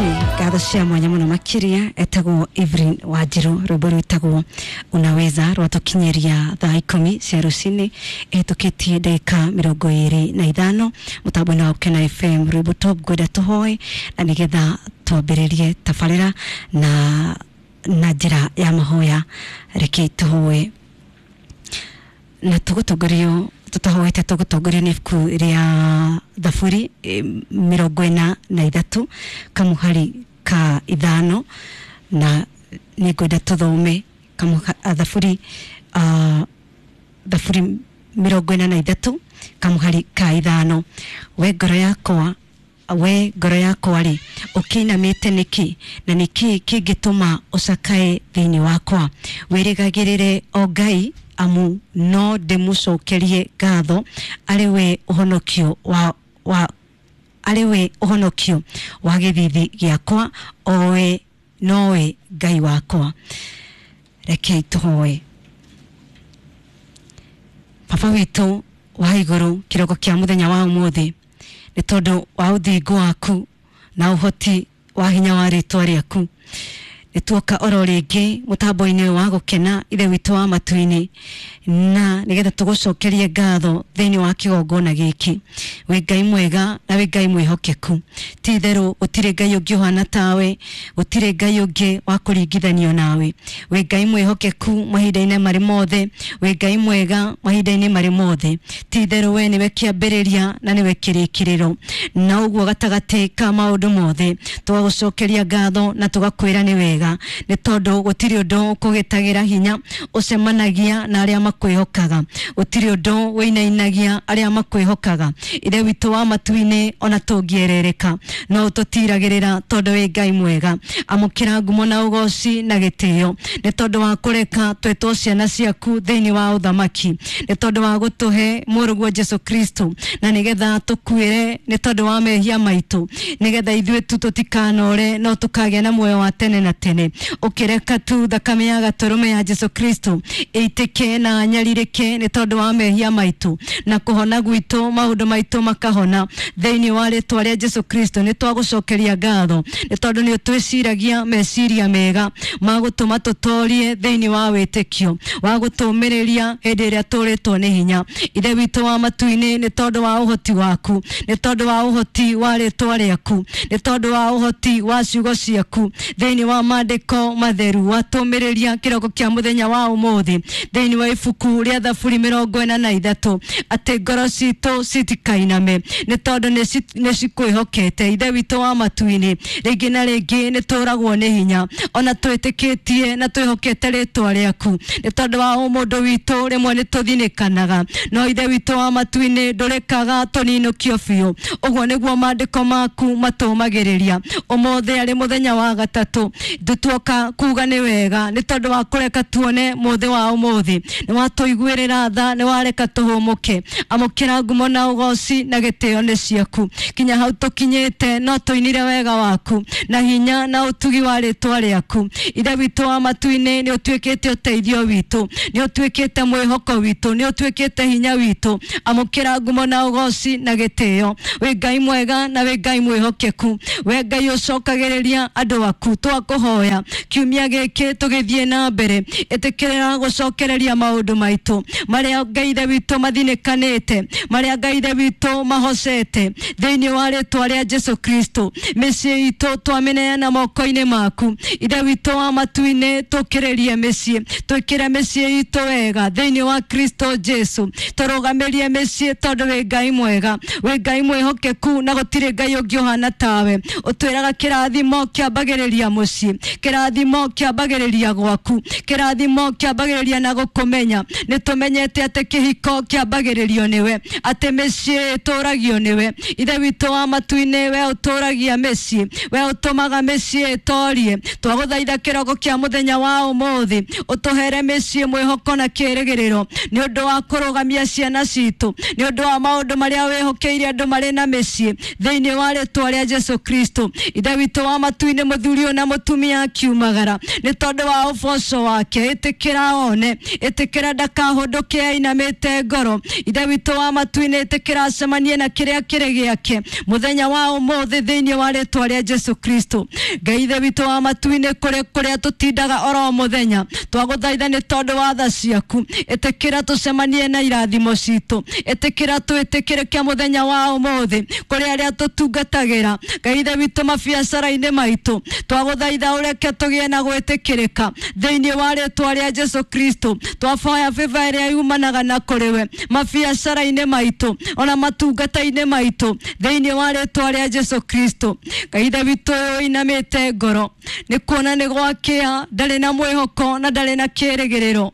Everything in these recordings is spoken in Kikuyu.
Ngatho cia mwanya muno makiria etagwo Evelyn Wanjiru, rwimbo rwitagwo Unaweza rwatukinyiria thaa 10 cia rucini itukitie ndagika 25 mutambo-ini wa Gukena FM. Rwimbo top ngwenda tuhoe na nigetha twambiririe tabarira na njira ya mahoya. Reke tuhoe na tugutongorio tutahoete tugutongorio ni ibuku ria Thaburi 43 kamuhari ka 5 na ningwenda tuthome Thaburi Thaburi 43 kamuhari ka 5. We ngoro yakwa, we ngoro yakwa rĩ, ũkĩinamĩte nĩkĩ, na nĩkĩ kĩngĩtũma ũcakae thĩinĩ wakwa? Wĩrĩgagĩrĩre o Ngai, amu no ndĩmũcokerie ngatho, arĩ we ũhonokio wa arĩ we ũhonokio wa gĩthithi gĩakwa, o we nowe Ngai wakwa. Rekei tũhoe. Baba witũ wa igũrũ, kĩroko kĩa mũthenya wa ũmũthĩ, nĩ tondũ wa ũthingu waku na ũhoti wa hinya wa rĩtwa rĩaku, nĩ tuoka oro rĩngĩ mũtambo-inĩ wa Gũkena Ithe witũ wa matu-inĩ, na nĩgetha tũgũcokerie ngatho thĩinĩ wa kĩgongona gĩkĩ. Wĩ Ngai mwega na wĩ Ngai mwĩhokeku. Ti itherũ gũtirĩ Ngai ũngĩ ũhana tawe, gũtirĩ Ngai ũngĩ wa kũringithanio nawe. Wĩ Ngai mwĩhokeku mahinda-inĩ marĩ mothe, wĩ Ngai mwega mahinda-inĩ marĩ mothe. Ti itherũ we nĩwe kĩambĩrĩria na nĩwe kĩrĩkĩrĩro, na ũguo gatagatĩ ka maũndũ mothe tũgagũcokeria ngatho na tũgakwĩra nĩ wega, nĩ tondũ gũtirĩ ũndũ ũkũgĩtagĩra hinya ũcemanagia na arĩa makwĩhokaga, gũtirĩ ũndũ wĩinainagia arĩa makwĩhokaga. Ithe witũ wa matu-inĩ, ona tũngĩerereka no ũtũtiragĩrĩra tondũ wĩ Ngai mwega. Amũkĩra ngumo na ũgoci na gĩtĩo, nĩ tondũ wa kũreka twĩtwo ciana ciaku thĩinĩ wa ũthamaki, nĩ tondũ wa gũtũhe mũrũguo Jesu Kristo, na nĩgetha tũkuĩre nĩ tondũ wa mehia maitũ, nĩgetha ithuĩ tu tũtikanore no tũkagĩa na muoyo wa tene na tene. Ũkĩreka tu thakame ya gatũrũme ya Jesu Kristo ĩitĩke na nyarirĩke nĩ tondũ wa mehia maitũ, na kũhona gwitũ maũndũ maitũ makahona thĩinĩ wa rĩtwa rĩa Jesu Kristo. Nĩ twagũcokeria ngatho nĩ tondũ nĩ ũtwĩciragia meciria mega ma gũtũma tũtorie thĩinĩ wa wĩtĩkio, wa gũtũmĩrĩria hĩndĩ ĩrĩa tũrĩtwo nĩ hinya. Ithe witũ wa matu-inĩ, nĩ tondũ wa ũhoti waku, nĩ tondũ wa ũhoti wa rĩtwa rĩaku, nĩ tondũ wa ũhoti wa ciugo ciaku thĩinĩ wa maandĩko matheru, watũmĩrĩria kĩroko kĩa mũthenya wa ũmũthĩ thĩinĩ wa ibuku rĩa Thaburi 43 atĩ ngoro citũ citikainame nĩ tondũ nĩ cikwĩhokete. Ithe witũ wa matu-inĩ, rĩngĩ na rĩngĩ nĩ tũragwo nĩ hinya, ona twĩtĩkĩtie na twĩhokete rĩtwa rĩaku, nĩ tondũ wa ũmũndũ witũ rĩmwe nĩ tũthinĩkanaga, no Ithe witũ wa matu-inĩ ndũrekaga tũninũkio biũ. Ũguo nĩguo maandĩko maku matũmagĩrĩria. Ũmũthĩ arĩ mũthenya wa gatatũ, tuoka kuga nĩ wega nĩ tondũ wa kũreka tuone mũthĩ wa ũmũthĩ. Nĩ watũiguĩrĩra tha, nĩ wareka tũhũmũke. Amũkĩra ngumo na ũgoci na gĩtĩo nĩ ciaku. Kinya hau tũkinyĩte no tũinire wega waku na hinya na ũtugi wa rĩtwa rĩaku. Ithe witũ wa matu-inĩ, nĩ ũtuĩkĩte ũteithio witũ, nĩ ũtuĩkĩte mwĩhoko witũ, nĩ ũtuĩkĩte hinya witũ. Amũkĩra ngumo na ũgoci na gĩtĩo. Wĩ Ngai mwega na wĩ Ngai mwĩhokeku, we Ngai ũcokagĩrĩria andũ aku. Twakũhoya kiumia gĩkĩ tũgĩthiĩ na mbere, ĩtĩkĩrĩra gũcokereria maũndũ maitũ marĩa Ngai Ithe witũ mathinĩkanĩte, marĩa Ngai Ithe witũ mahocete thĩinĩ wa rĩtwa rĩa Jesu Kristo. Mĩciĩ itũ twamĩneana moko-inĩ maku. Ithe witũ wa matu-inĩ, tũkĩrĩrie mĩciĩ, twĩkĩre mĩciĩ itũ wega thĩinĩ wa Kristo Jesu. Tũrũgamĩrie mĩciĩ tondũ wĩ Ngai mwega, wĩ Ngai mwĩhokeku, na gũtirĩ Ngai ũngĩ ũhana tawe. Ũtwĩraga kĩrathimo kĩambagĩrĩria mũciĩ, kĩrathimo kĩambagĩrĩria gwaku, kĩrathimo kĩambagĩrĩria na gũkũmenya. Nĩ tũmenyete atĩ kĩhiko kĩambagĩrĩrio nĩwe, atĩ mĩciĩ ĩtũragio nĩwe. Ithe witũ wa matu-inĩ, we ũtũragia mĩciĩ, we ũtũmaga mĩciĩ ĩtorie. Twagũthaitha kĩroko kĩa mũthenya wa ũmũthĩ, ũtũhere mĩciĩ mwĩhoko na kĩĩrĩgĩrĩro, nĩ ũndũ wa kũrũgamia ciana citũ, nĩ ũndũ wa maũndũ marĩa wĩhokeire andũ marĩ na mĩciĩ thĩinĩ wa rĩtwa rĩa Jesu Kristo. Ithe witũ wa matu-inĩ, mũthuri ũyũ na mũtumia nĩ akiumagara nĩ tondũ wa ũboco wake. Ĩtĩkĩra one, ĩtĩkĩra ndakahũndũke ainamĩte ngoro. Ithe witũ wa matu-inĩ, ĩtĩkĩra acemanie na kĩrĩa kĩrĩ gĩake mũthenya wa ũmũthĩ thĩinĩ wa rĩtwa rĩa Jesu Kristo. Ngai ithe witũ wa matu-inĩ, kũrĩa tũtindaga oro mũthenya, twagũthaitha nĩ tondũ wa tha ciaku, ĩtĩkĩra tũcemanie na irathimo citũ, ĩtĩkĩra twĩtĩkĩrĩke mũthenya wa ũmũthĩ kũrĩ arĩa tũtungatagĩra. Ngai ithe witũ mabiacara-inĩ maitũ, twagũthaitha ũreke tũgĩe na gwĩtĩkĩrĩka thĩinĩ wa rĩtwa rĩa Jesu Kristo. Twaboya favor ĩrĩa yumanaga na kũrĩ we mabiacara-inĩ maitũ ona matungata-inĩ maitũ thĩinĩ wa rĩtwa rĩa Jesu Kristo. Ngai ithe witũ ũyũ ũinamĩte ngoro nĩ kuona nĩ gwakĩa, ndarĩ na mwĩhoko na ndarĩ na kĩĩrĩgĩrĩro.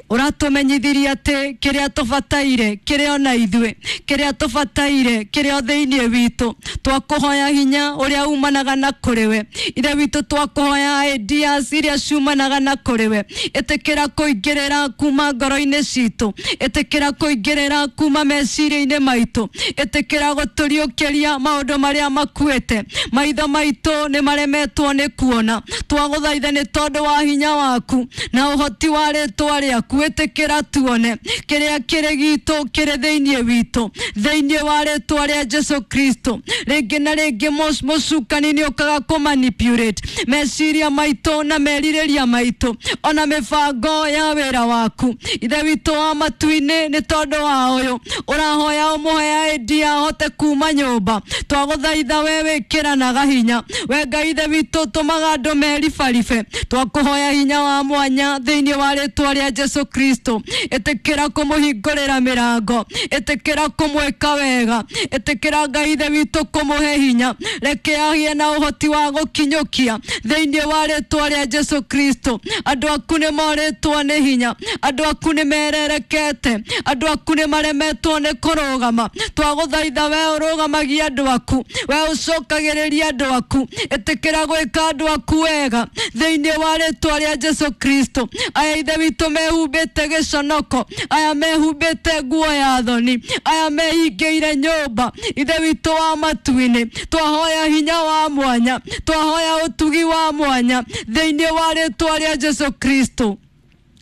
Ũratũmenyithirie atĩ kĩrĩa tũbataire kĩrĩ ona ithuĩ, kĩrĩa tũbataire kĩrĩ o thĩinĩ witũ. Twakũhoya hinya ũrĩa umanaga na kũrĩ we. Ithe witũ, twakũhoya ideas iria ciumanaga na kũrĩ we. Ĩtĩkĩra kũingĩrĩra kuma ngoro-inĩ citũ, ĩtĩkĩra kũingĩrĩra kuma meciria-inĩ maitũ, ĩtĩkĩra gũtũriũkĩria maũndũ marĩa makuĩte. Maitho maitũ nĩ maremetwo nĩ kuona. Twagũthaitha nĩ tondũ wa hinya waku na ũhoti wa rĩtwa rĩaku, ĩtĩkĩra tuone kĩrĩa kĩrĩ gitũ kĩrĩ thĩinĩ witũ thĩinĩ wa rĩtwa rĩa Jesu Kristo. Rĩngĩ na rĩngĩ mũcukani nĩ ũkaga kũmanipulate meciria maitũ na merirĩria maitũ ona mĩbango ya wĩra waku. Ithe witũ wa matu-inĩ, nĩ tondũ wa ũyũ ũrahoya ũmũhe idea ahote kuma nyũmba, twagũthaitha we wĩkĩranaga hinya. We Ngai ithe witũ, tũmaga andũ meribaribe. Twakũhoya hinya wa mwanya thĩinĩ wa rĩtwa rĩa Jesu Kristo. Ĩtĩkĩra kũmũhingũrĩra mĩrango, ĩtĩkĩra kũmwĩka wega, ĩtĩkĩra Ngai ithe witũ kũmũhe hinya, reke agĩe na ũhoti wa gũkinyũkia thĩinĩ wa rĩtwa rĩa Jesu Kristo. Andũ aku nĩ morĩtwo nĩ hinya, andũ aku nĩ mererekete, andũ aku nĩ maremetwo nĩ kũrũgama. Twagũthaitha we ũrũgamagia andũ aku, we ũcokagĩrĩria andũ aku, ĩtĩkĩra gwĩka andũ aku wega thĩinĩ wa rĩtwa rĩa Jesu Kristo. Aya ithe witũ mehumbĩte gĩconoko, aya mehumbĩte nguo ya thoni, aya mehingĩire nyũmba, ithe witũ wa matu-inĩ, twahoya hinya wa mwanya, twahoya ũtugi wa mwanya thĩinĩ wa rĩtwa rĩa Jesu Kristo.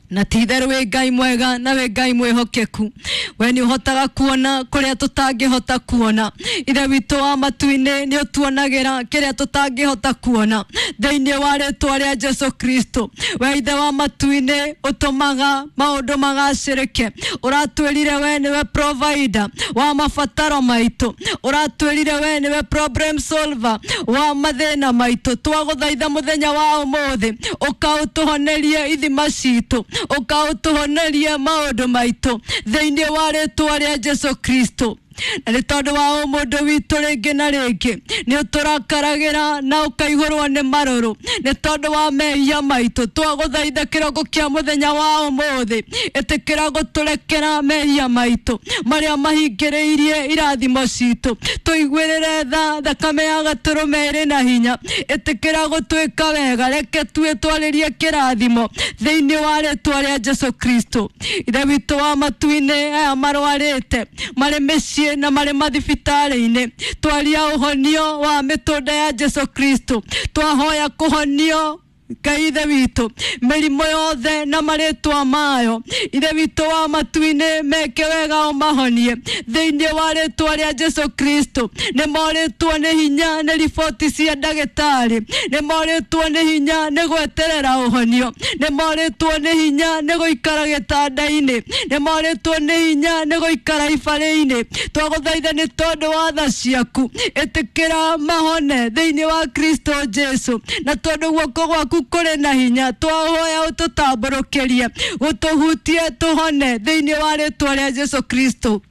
Na ti itherũ wĩ Ngai mwega na wĩ Ngai mwĩhokeku, we nĩ ũhotaga kuona kũrĩa tũtangĩhota kuona. Ithe witũ wa matu-inĩ, nĩ ũtuonagĩra kĩrĩa tũtangĩhota kuona thĩinĩ wa rĩtwa rĩa Jesu Kristo. We ithe wa matu-inĩ, ũtũmaga maũndũ magacĩrĩke. Ũratwĩrire we nĩwe provider wa mabataro maitũ, ũratwĩrire we nĩwe problem solver wa mathĩna maitũ. Twagũthaitha mũthenya wa ũmũthĩ ũkaũtũhonerie ithima citũ, ũkaũtũhonerie maũndũ maitũ thĩinĩ wa rĩtwa rĩa Jesu Kristo. Na nĩ tondũ wa ũmũndũ witũ, rĩngĩ na rĩngĩ nĩ ũtũrakaragĩra na ũkaihũrwo nĩ marũrũ nĩ tondũ wa mehia maitũ. Twagũthaitha kĩroko kĩa mũthenya wa ũmũthĩ, ĩtĩkĩra gũtũrekera mehia maitũ marĩa mahingĩrĩirie irathimo citũ. Tũiguĩrĩre tha, thakame ya gatũrũme ĩrĩ na hinya. Ĩtĩkĩra gũtwĩka wega, reke tue twarĩrie kĩrathimo thĩinĩ wa rĩtwa rĩa Jesu Kristo. Ithe witũ wa matu-inĩ, aya marwarĩte marĩ mĩciĩ na marĩ mathibitarĩ-inĩ, twaria ũhonio wa mĩtũnda ya Jesu Kristo. Twahoya kũhonio, Ngai ithe witũ, mĩrimũ yothe na marĩtwa mayo. Ithe witũ wa matu-inĩ, meke wega ũmahonie thĩinĩ wa rĩtwa rĩa Jesu Kristo. Nĩ morĩtwo nĩ hinya nĩ riboti cia ndagĩtarĩ, nĩ morĩtwo nĩ hinya nĩ gweterera ũhonio, nĩ morĩtwo nĩ hinya nĩ gũikara gĩtanda-inĩ, nĩ morĩtwo nĩ hinya nĩ gũikara ibarĩ-inĩ. Twagũthaitha nĩ tondũ wa tha ciaku, ĩtĩkĩra mahone thĩinĩ wa Kristo Jesu. Na tondũ guoko gwaku kũrĩ na hinya, twahoya ũtũtambũrũkĩrie, gũtũhutie, tũhone thĩinĩ wa rĩtwa rĩa Jesu Kristo.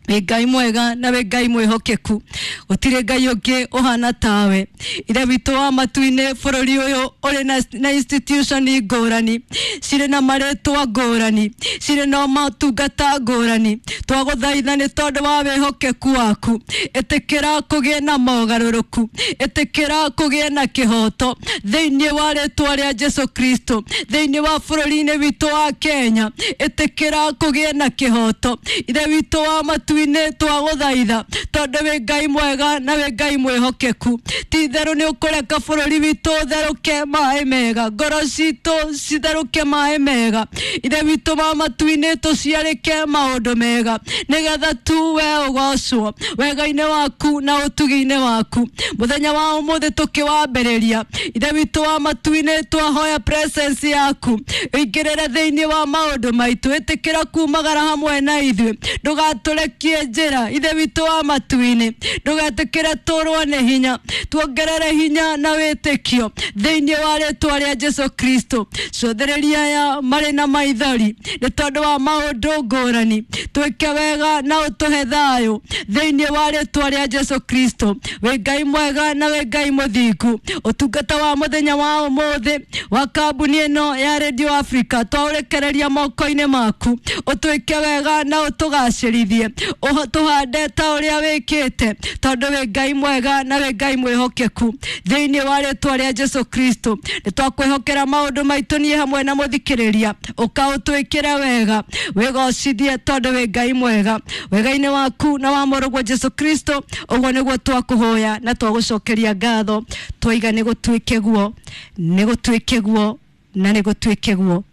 Wĩ Ngai mwega na wĩ Ngai mwĩhokeku, gũtirĩ Ngai ũngĩ ũhana tawe. Ithe witũ wa matu-inĩ, bũrũri ũyũ ũrĩ na institution ngũrani, cirĩ na marĩtwa ngũrani, cirĩ na motungata ngũrani. Twagũthaitha nĩ tondũ wa wĩhokeku waku, ĩtĩkĩra kũgĩe na mogarũrũku, ĩtĩkĩra kũgĩe na kĩhoto thĩinĩ wa rĩtwa rĩa Jesu Kristo. Thĩinĩ wa bũrũri-inĩ witũ wa Kenya, ĩtĩkĩra kũgĩe na kĩhoto. Ithe witũ wa matu matu-inĩ twagũthaitha tondũ wĩ Ngai mwega na wĩ Ngai mwĩhokeku. Ti itherũ nĩ ũkũreka bũrũri witũ ũtherũke maĩ mega, ngoro citũ citherũke maĩ mega. Ithe witũ wa matu-inĩ tũciarĩke maũndũ mega nĩgetha tu we ũgocwo wega-inĩ waku na ũtugi-inĩ waku. Mũthenya wa ũmũthĩ tũkĩwambĩrĩria, Ithe witũ wa matu-inĩ twahoya presence yaku ĩingĩrĩre thĩinĩ wa maũndũ maitũ, ĩtĩkĩra kumagara hamwe na ithuĩ, ndũgatũrekie njĩra. Ithe witũ wa matu-inĩ ndũgetĩkĩre tũrwo nĩ hinya, tuongerere hinya na wĩtĩkio thĩinĩ wa rĩtwa rĩa Jesu Kristo. Cũthĩrĩria aya marĩ na maithori nĩ tondũ wa maũndũ ngũrani, twĩke wega na ũtũhe thayũ thĩinĩ wa rĩtwa rĩa Jesu Kristo. Wĩ Ngai mwega na wĩ Ngai mũthingu. Ũtungata wa mũthenya wa ũmũthĩ wa kambuni ĩno ya Radio Africa twaũrekereria moko-inĩ maku, ũtwĩke wega na ũtũgacĩrithie, tũhande ta ũrĩa wĩkĩte tondũ wĩ Ngai mwega na wĩ Ngai mwĩhokeku thĩinĩ wa rĩtwa rĩa Jesu Kristo. Nĩ twakwĩhokera maũndũ maitũ niĩ hamwe na mũthikĩrĩria, ũka ũtwĩkĩre wega, wĩgocithie tondũ wĩ Ngai mwega. Wega-inĩ waku na wa mũrũguo Jesu Kristo, ũguo nĩguo twakũhoya na twagũcokeria ngatho, twaiga nĩ gũtuĩke guo, nĩ gũtuĩke guo na nĩ gũtuĩke guo.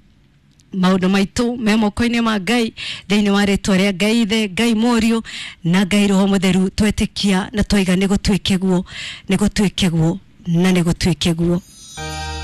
Maũndũ maitũ me moko-inĩ ma Ngai thĩinĩ wa rĩtwa rĩa Ngai Ithe, Ngai Mũriũ na Ngai Roho Mũtheru, twetĩkia na twaiga nĩ gũtuĩke guo, nĩ gũtuĩke guo na nĩ gũtuĩke guo.